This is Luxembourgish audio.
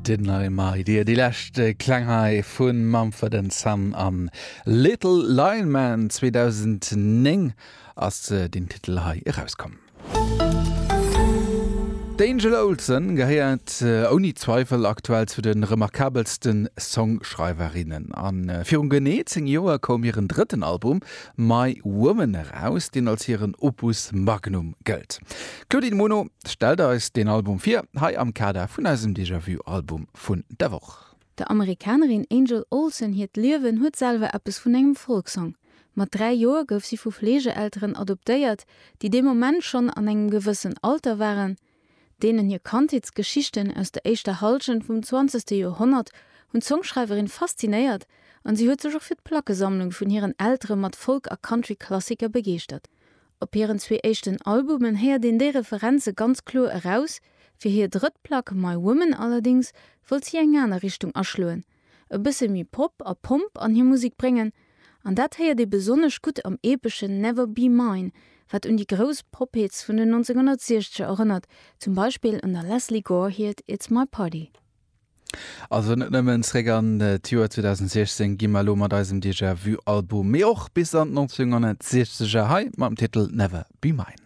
Didn't I My Dear, déi lescht Kläng hei vu Mumford and Son an Little Lion Man. 2009 ass deen Titel hei erauskomm. D'Angel Olsen gehéiert ouni Zweifel aktuell zu de remarkabelste Songschreiwerinnen. A virun genee 10 Joer koum hiren drëtten Album My Woman eraus, deen als hiren Opus Magnum gëllt. D'Claudine Muno stellt eis deen Album vir, hei am Kader vun eisem Déjà-vu-Album vun der Woch. Der Amerikanerin Angel Olsen hiert Liewen huet selwer eppes vun engem Folksong. Mat 3 Joer gouf si vu Fleegeelteren adoptéiert, déi dee Moment schonn an engem gewëssen Alter waren. Deenen hir Kandheetsgeschichten aus der éischter Hallschent vum zwanzegste Joerhonnert hunn d'Songschreiwerin faszinéiert an si huet sech och fir d'Plackesammlung vun hiren Eltere mat Folk a Country-Klassiker begeeschtert. Op hiren zwee éischten Albumen héiert een déi Referenze ganz kloer eraus, fir hir drëtt Plack My Woman allerdéngs wollt si eng aner Richtung aschloen, e bësse méi Pop a Pomp an hir Musek bréngen. An dat héiert ee besonnesch gutt am epeschen Never Be Mine, wat un déi grouss Pop-Hits vun den 1960er erënnert, zum Beispill un der Lesley Gore hiert It's My Party. Also net nëmmen zréck an d'Joer 2016 gi mer elo mat eisem Déjà Vu Album, mee och bis an d'Nonzénhonnertsiechzeger hei mam Titel Never Be Mine.